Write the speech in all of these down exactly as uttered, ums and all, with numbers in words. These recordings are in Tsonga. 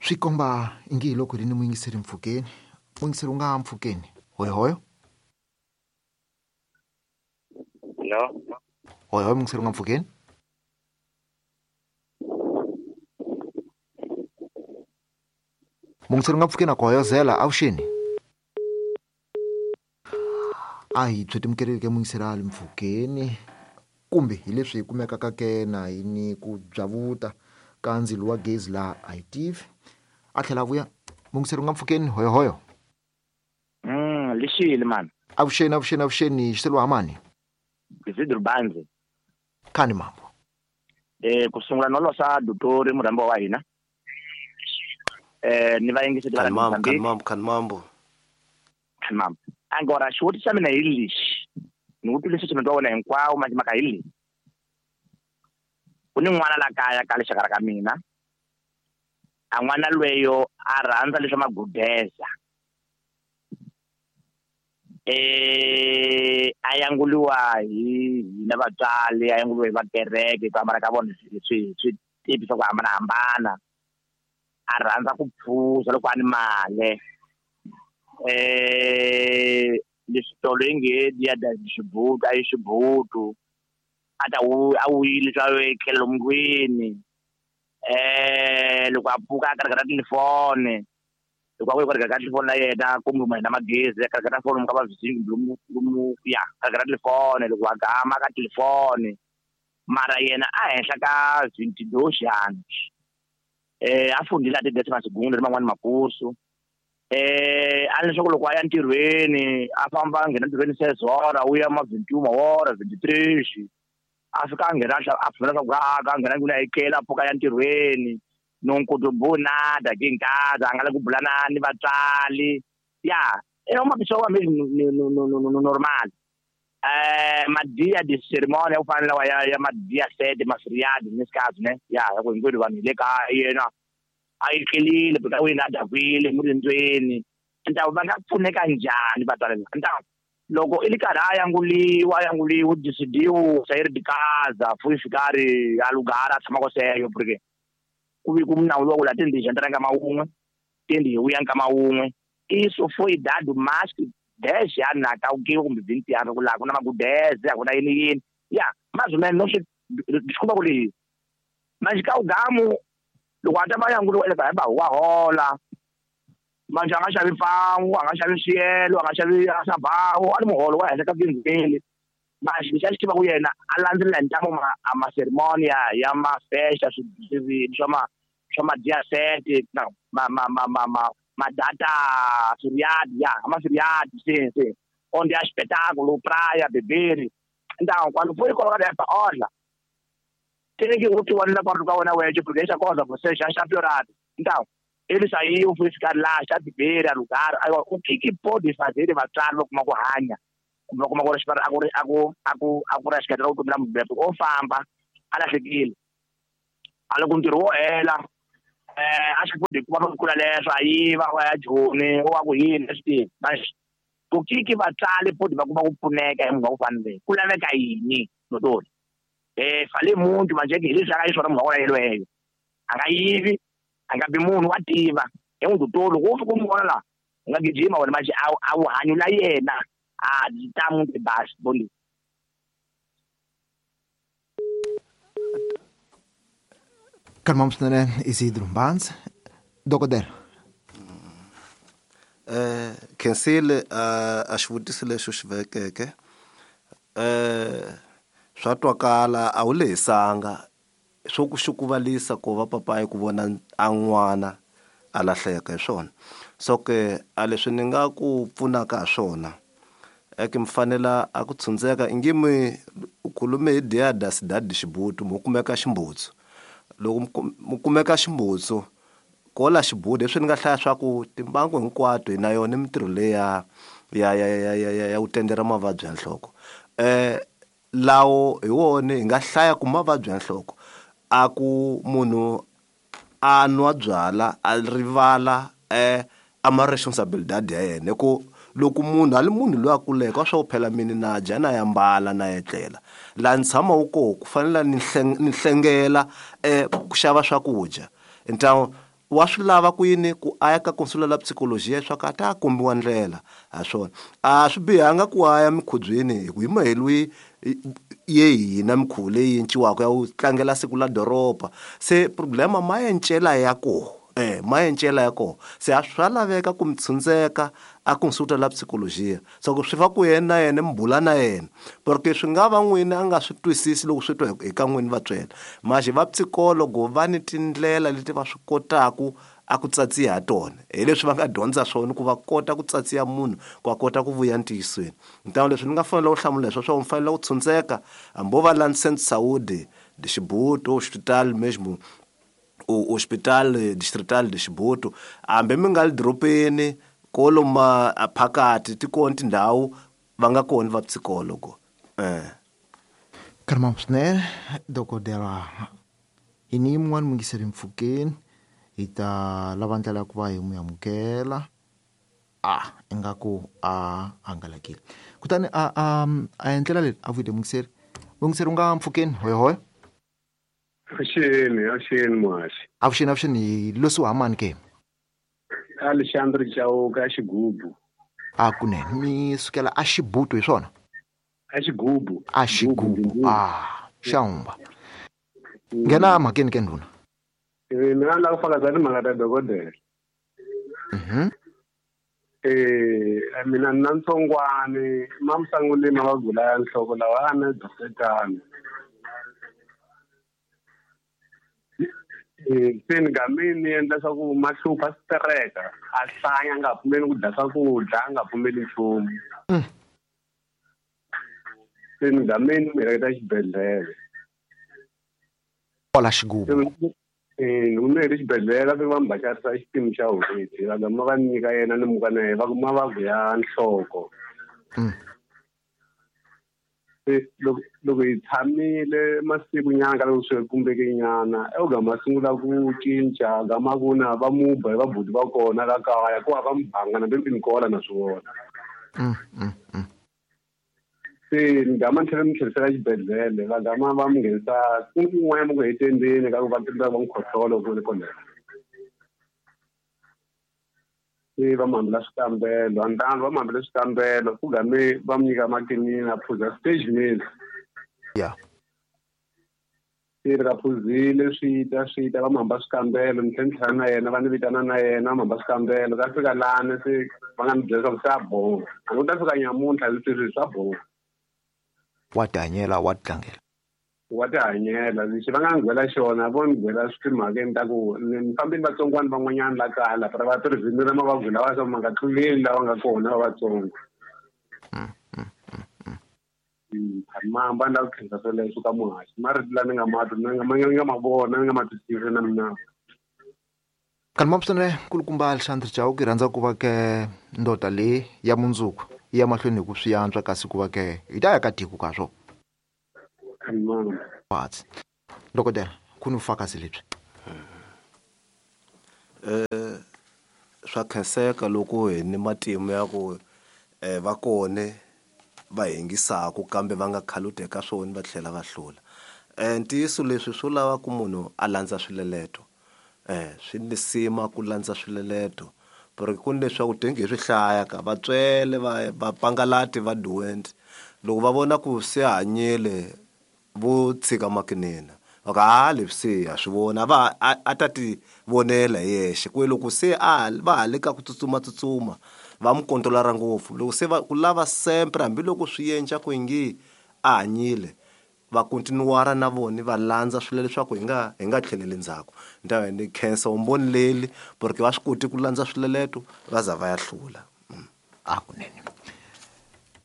Swi komba ingi hi loko ri ni muyingiseri mpfhukeni. Muyingiseri u nga mpfhukeni. Hoyohoyo. Hello. Hoyohoyo muyingiseri u nga mpfhukeni. Muyingiseri u nga mpfhukeni a ku hoyozela avuxeni. A hi byi muyingiseri a le mpfhukeni kumbe hi leswi hi kumekaka ke na hi ni ku byavuta ka ndzilo wa gezi laha a hi tivi. A tlhela a vuya. Muyingiseri u nga mpfhukeni hoyohoyo. Mm, lexile mani. Avuxeni avuxeni avuxeni xiselo ha mani. Isidro Banzi. Khani mambo. Eh ku sungula no losa dotori murhambo wa hina. Eh ni va yingiseti va Mambo, khani mambo, khani mambo. Khani mambo. Angora xivutiso xa mina hi lexi. Ni vutile leswi wa wena hinkwawo manje maka hi lexi. Ku ni n'wana la kaya ka lexaka ra ka mina. A n'wana lweyo a rhandza leswa magudeza. Eh a yanguliwa hi hina vatswari, a yanguliwa hi vakereke ku hambana ka vona swi swi tipi swa ku hambanahambana. A rhandza ku phuza loko a ni mali. Eh leswitolo yi nge dia da xibutu a yi xibutu. A ta a wuyile swa etlela lomu ndlwini. Eh loko a pfuka a karhata telefoni. Loko a vuya ku karhata telefoni na yena kumbe ma hina magezi a karhata foni ka va lomu lomu ya karhata telefoni loko a gama ka telefoni. Mara yena a henhla ka vinte e dois anos. Eh a fundile a ti segundo ni man'wani makursu. Eh a leswaku loko a ya ntirhweni a famba a nghena ntirhweni seis horas u ya ma vinte e uma hora vinte e três. A fika a nghena a pfumela swa ku a nghena ndlwini a etlela a pfuka a ya ntirhweni. Não contribui nada aqui em casa, a nga lavi ku bula na ni vatswari. Ya, é uma pessoa mesmo no, no, no, no normal. Eh, ma dia de cerimônia, eu falo lá, ya ma dia sete, ma feriado, nesse caso, né? Ya, ku hinkwenu vanhu hi le kaya yena a etlelile porque wina a dakwile murindweni. Então va nga pfuneka njhani vatswari lava? Então loko i ri karhi a yanguliwa a yanguliwa decidiu sair de casa, foi ficar alugar a tshama koseyo porque ku vi ku nawu lowu la tindi entra nkama wun'we tindi hi vuya nkama wun'we. Isso foi dado mais que dez anos na kaukiwa kumbe vinte anos ku laha ku na magudeze a ku na yini yini. Ya, mais ou menos não desculpa ku leyi. Manje ka ugamu loko a ta va yanguliwa ele ba wa hola. Manje a nga xavi mfangu, a nga xavi swiyelo, a nga xavi sabawu, a ni muholo wa henhla ka vhingheli. Mas lexi a xi tivaka yena a landzelela hi ntamu ma a ma cerimônia ya ma festa swi swa ma swa ma dia sete no ma ma ma ma ma ma data feriado ya ma feriado sim sim onde há espetáculo praia beber. Então quando foi colocado essa olha tem que o que na quarto ka wena wexe porque essa coisa você já está piorado. Então ele saiu foi ficar lá já beber alugar. Agora o que que pode fazer vatswari kuma ku hanya kumbe kuma ku ri a ku ri a ku a ku a ku ri xiketela vutomi la mubebe o famba a lahlekile a loko ntirho wo hela eh a swi koti ku va ku kula leswo a yiva wa ya Joni wa ku yini a swi tivi. Manje ku kiki vatswari poti va kuma ku pfuneka hi munhu wa ku fana leyi ku laveka yini dotori eh fale muntu manje hi leswi a nga xiswona munhu wa wena yelweyo a nga yivi a nga bi munhu wa tiva hi n'wi dotori loko wo fika u n'wi vona laha u nga gijima wena manje a a wu hanyu la yena a tá muito baixo. Bom dia. Kalmam swinene Isidro Mbanzi. Dokodela. Eh khensile a xivutiso lexi u xi vekeke eh swa twakala a wu lehisanga swo ku xukuvalisa ku va papayi ku vona a n'wana a lahleka hi swona. So ke a leswi ni nga ku pfunaka ha swona eke mi fanela a ku tshundzeka ingi mi u khulume hi dia da cidade xibutu mo kumeka ximbutsu. Loko mu kumeka ximbutsu kola xibutu leswi ni nga hlaya swa ku timbangu hinkwato hi na yona mintirho leya ya ya ya ya ya ya ku tendera mavabyi ya nhloko. Eh lawo hi wona hi nga hlaya ku mavabyi ya nhloko a ku munhu a nwa byala a rivala eh a ma responsabilidade ya yena ku loko munhu a li munhu loyi a kuleke wa swa ku phela mini na dya na yambala na etlela laha ni tshama wu koho ku fanele ni ni hlengela eh ku xava swakudya. Então Wa swi lava ku yini ku a ya ka consulta la psikolojiya leswaku a ta kombiwa ndlela ha swona. A swi bihanga ku a ya mikhubyeni hi ku hi mahelo ye hina mikhuvo leyi enciwaka ya ku tlangela siku la doroba. Se problema ma encela ya koho. Eh, ma encela ya koho. Se a swa laveka ku mi tshundzeka a consulta la psikolojiya. So ku swi fa ku yena na yena mi bula na yena. Porque swi nga va n'wina a nga swi twisisi loko swi twa hi ka n'wini vatswele. Manje va psikologo va ni tindlela leti va swi kotaku a ku tsatsiya ha tona. Hi leswi va nga dyondza swona ku va kota ku tsatsiya munhu ku a kota ku vuya ntiyisweni. Ntanga leswi ni nga fanela ku hlamula leswo swa u fanele ku tshundzeka hambi wo va la Saint Saudi de Chibuto hospital mesmo o hospital distrital de Chibuto hambi mi nga le dorobeni koloma phakathi ti kona tindhawu va nga kona va psikologo. Eh. Karma swinene dokodela hi ni yin'wana mungiseri mpfhukeni hi ta lava ndlela ya ku va hi n'wi amukela a ingaku a hangalakile kutani a a a endlela leri a vuyile mungiseri mungiseri u nga mpfhukeni hoyhoy. Avuxeni, avuxeni muhaxi. Avuxeni, avuxeni hi losi wa mani ke? Alexandre Chauke a Xigubu. A kunene mi sukela a Xibuto hi swona? A Xigubu. A Xigubu. Ah, xaumba. Nghena mhakeni ke ndhuna. Eh, mina ni lava ku fakaza timhaka ta dokodela. Mhm. Eh, mina ni na ntsongwani mamusanguli ma va gula ya nhloko lawa a na dosetana. Eh, se ni game ni endla swa ku ma hlupha swi tereka a hlanya a nga pfumeli ku dya swakudya a nga pfumeli nchumu. Se ni game ni n'wi heleketa xibedhlele. Kwala Xigubu. Eh, ni n'wi helekete xibedhlele va fika va n'wi bacarisa xipimo xa n'hweti va gama va nyika yena ni muka na yena va ku mavabyi ya nhloko. Se loko loko hi tshamile masiku nyana ka loko swi kumbeke nyana e u gama sungula ku cinca gama ku na va mu ba hi vabuti va kona la kaya ku va mu banga na ni kola na swi vona. Se ni gama ni tlhela ni tlherisela xibedhlele va gama va mu nghenisa ku kun'wana ma ku hetendeni ka ku va va n'wi khohlola ku le kona. Se va mu hambela swikambelo andani va mu hambela swikambelo ku game va mu nyika makinini a phuza stage meal. Yeah. Se ri ka phuzile swi ta swi ta va mu hamba swikambelo ni tlhela ni tlhela na yena va ni vitana na yena va mu hamba swikambelo ka fika lani se va nga ni byela leswaku se a boha a ni ku ta fika nyamuntlha leswi swi swa boha. Wa tihanyela wa titlangela. Wa tihanyela lexi va nga ni byela xona vo ni byela swi timhakeni ta ku ni fambini vatsongwana van'wanyana la kaya la va tirhisa ra mavabyi lawa swa ma nga tluleli lawa nga kona va vatsongo. Mamba ni lava ku khensa sweleswo ka muhaxi marito la ni nga ma twa ni nga ma ni nga ma vona ni nga ma twisisi na mina. Kanti mapsene kulukumba Alexandre Chauke rhandza ku va ke ndoda leyi ya mundzuku yi ya mahlweni hi ku swi antswa kasi ku va ke hi ta ya ka tiko ka swo. Patsi. Dokodela, ku ni vufakazi lebyi. Eh, swa khenseka loko hi ni matimu ya ku eh va kone va hingisaku kambe va nga khaluti eka swona va tlhela va hlula. Eh ntiyiso leswi swo lava ku munhu a landza swileleto. Eh swi ni sima ku landza swileleto. Porque ku ni leswaku tenge hi swi hlaya ka vatswele va va pangalati va doent. Loko va vona ku se hanyile vo tshika makinina. Va ka ha leswi se ha swi vona va a ta ti vonela hi yexe. Ku loko se a va ha le ka ku tsutsuma tsutsuma va mu kontrolara ngopfu. Loko se va ku lava sempre hambiloko swi endla ku ingi a hanyile va continuara na vona va landza swilo leswaku hi nga hi nga tlheleli ndzhaku. Ni ta ni khensa vumbhoni leli porque va swi koti ku landza swileleto va za va ya hlula. A kunene.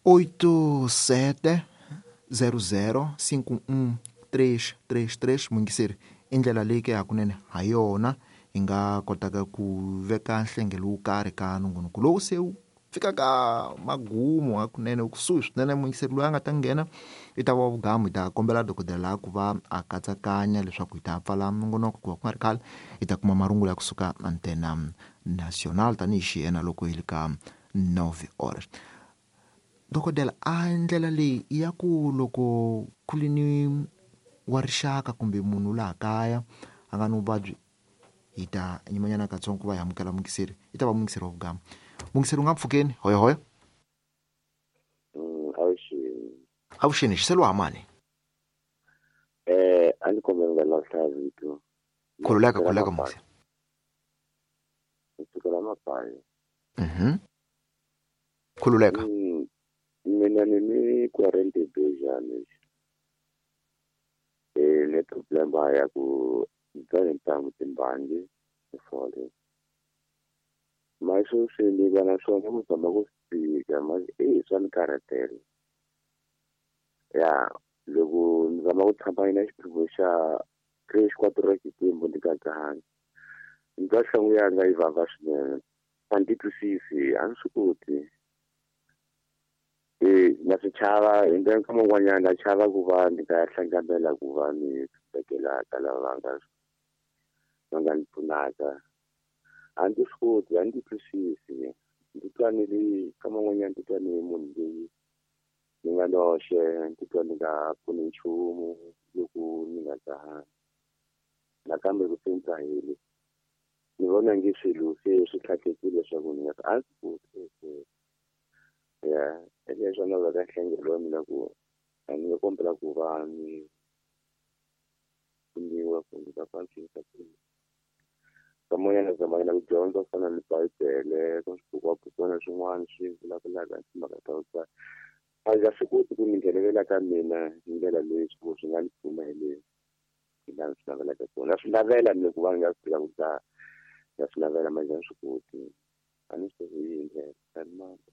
Oito sete zero zero cinco um três três três mungiseri i ndlela leyi ke hakunene ha yona hi nga kotaka ku veka nhlengelo wo karhi ka nongonoko lowu se wu fika ka magumu hakunene kusuhi swinene mungiseri loyi a nga ta nghena i ta va vugamu hi ta kombela dokodela laha ku va a katsakanya leswaku hi ta pfala nongonoko ku va ku nga ri khale hi ta kuma marungula ya kusuka Antena Nacional tanihi xiyena loko hi le ka nove horas. Dokodela a ndlela leyi ya ku loko ku ri ni wa rixaka kumbe munhu laha kaya a nga ni vuvabyi Hi ta nyimanyana katsongo ku va hi amukela muyingiseri, i ta va muyingiseri wa vugama. Muyingiseri u nga mpfhukeni, hoyohoyo. Avuxeni. Avuxeni, xiselo hamani. Eh, a ndzi kombela nga lahla vito. Khululeka, khululeka muyingiseri. Kusukela Mapayi. Mhm. Khululeka. Mina ni ni quarante bejani. Eh, ne problema ya ku dzana ntangu timbangi fole. Mas swi ni va na swona ku tshama ku fika mas e swa ni karhatela. Ya loko ni zama ku tshama na xiphiqo xa três quatro xikwembu ni ka dzahanga. Ni twa nhlonge yanga yi vava swinene. A ndzi twisisi, a ndzi swi koti. E na swi chava hi ndlela nkama wun'wanyana na chava ku va ni nga hlanganela ku va ni vekela ka lava va nga va nga ni pfunaka. A ndzi swi koti, a ndzi twisisi. Ndzi twa ni ri nkama wun'wanyana ndzi twa ni munhu loyi ni nga noxe, ndzi twa ni nga pfuni nchumu loko ni nga dzahanga. Nakambe ku se ni dzahile ni vona nge swilo se swi tlhakekile leswaku ni nga a ndzi koti. Ya leswi a nga nhlengelo wa mina ku a ni nga kombela ku va ni pfuniwa ku ni ta antswisa ku kamoyana zamanyana ku dyondza ku fana ni bibele ka swibukwana swin'wana swi vulavulaka hi timhaka ta ku dzaha. A ndzi swi koti ku mi nghenelela ka mina hi ndlela leyi swi swi nga ni pfuna hi leyi hi laha swi navelaka kona. Na swi navela mina ku va ni nga swi tiva ku dzaha, na swi navela manje a ni swi koti. A ni swi tivi hi yihi ndlela. Khalimamba.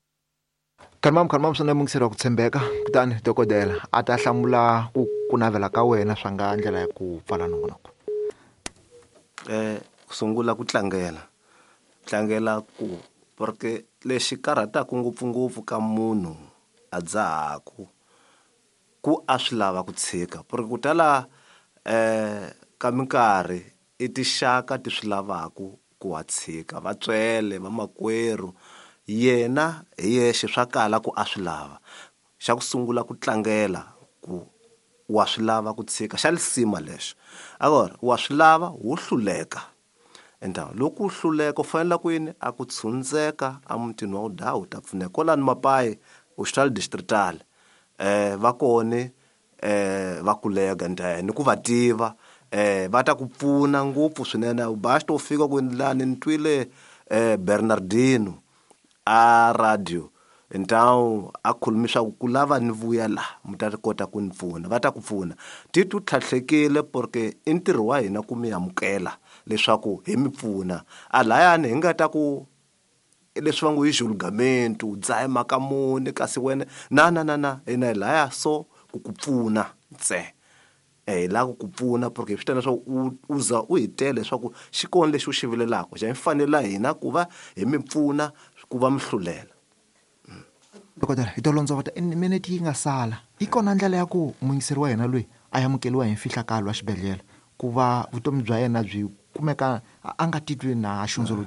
Khalimamba, khalimamba swinene muyingiseri wa ku tshembeka. Kutani dokodela a ta hlamula ku ku navela ka wena swa nga ndlela ya ku pfala nongonoko. Eh, ku sungula ku tlangela. Tlangela ku porque lexi karhataka ngopfungopfu ka munhu a dzahaku ku a swi lava ku tshika. Porque ku tala eh ka minkarhi i tinxaka ti swi lavaku ku wa tshika, vatswele, vamakwerhu. Yena hi yexe swa kala ku a swi lava. Xa ku sungula ku tlangela ku wa swi lava ku tshika, xa lisima lexo. Agora wa swi lava wo hluleka. Enta loko u hluleka u fanele ku yini a ku tshundzeka emutini wa u u ta pfuneka. Kwalano Mapayi hospital distrital eh va kone eh va kulega nta ni ku va tiva eh va ta ku pfuna ngopfu swinene. U ba xi to fika ku lani ni twile eh Bernardino a radio então a khulumi swa ku lava ni vuya la mi ta kota ku ni pfuna, va ta ku pfuna. Titwi tlhatlhekile porque i ntirho wa hina ku mi amukela leswaku hi mi pfuna. A layani hi nga ta ku leswi va ngo i julgamento u dzaha mhaka muni kasi wena na na na na hina hi laya so ku ku pfuna ntsena. Eh hi lava ku ku pfuna porque hi swi tiva leswaku u u za u hi tele leswaku xi kona lexi u xi vilelaka xa hi fanela hina ku va hi mi pfuna ku va mi hlulela. Dokodela, hi to londzovota minete yi nga sala. Yi kona ndlela ya ku muyingiseri wa hina loyi a amukeriwa hi mfihlakalo wa xibedhlele ku va vutomi bya yena byi kumeka a nga titwi na xundzuluko.